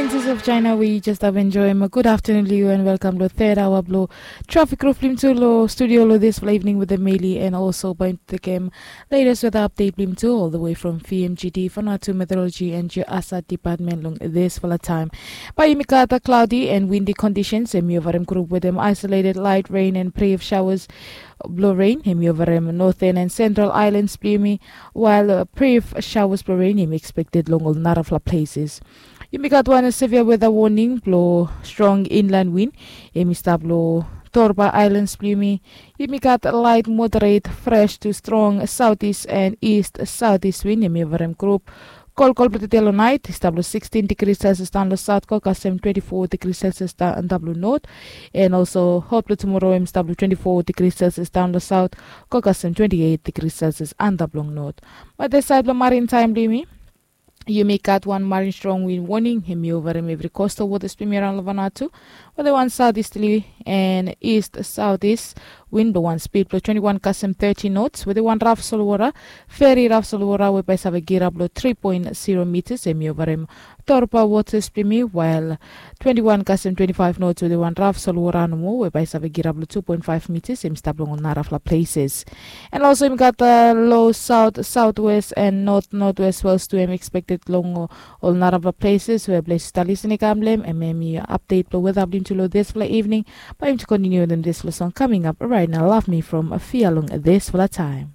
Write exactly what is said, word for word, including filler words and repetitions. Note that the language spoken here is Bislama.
Princess of China, we just have enjoy. Good afternoon, Liu, and welcome to third hour blo traffic roof blim to lo studio lo this evening with the Meli and also point the game latest weather update blim to all the way from V M G D for now to meteorology and your asat department long this for the time. By Yumikata, cloudy and windy conditions, and Miovarim group with them isolated light rain and brief showers blo rain, and Miovarim northern and central islands blo yumi, while uh, brief showers blo rain, expected long all narafla places. Yumi gat wan severe weather warning blo strong inland wind, hemi stap lo Torba Islands blo yumi. Yumi gat light moderate fresh to strong southeast and east southeast wind, hemi Miovarim group. Kolkol blo tede lo nait, i stap lo sixteen degrees Celsius down lo south, ko kasem twenty-four degrees Celsius down lo north. And also hot blo tomorrow, hemi stap lo twenty-four degrees Celsius down lo south, ko kasem twenty-eight degrees Celsius antap long north. But this side blo marine time blo yumi, yumi gat wan marine strong wind warning, hemi Miovarim evri coastal waters blo yumi around lo Vanuatu, wetem wan southeasterly and east southeast wind blo wan speed blo twenty-one kasem thirty knots, wetem wan raf solwota, very raf solwota we bae save girap lo three point zero meters, hemi Miovarim Torba waters blo yumi, while twenty-one kasem twenty-five knots wetem wan raf solwota nomo we bae save girap lo two point five meters, hemi stap long ol narafla places. And also yumi gat uh, low south southwest and north northwest swells tu, hemi expected long uh, ol narafla places we ples i stap lisin i kam lo hem. And hemi update blo weather blo yumi tu lo this for the evening. Bae yumi tu continue wetem this lo song coming up right now. Love me from Afia long this for the time.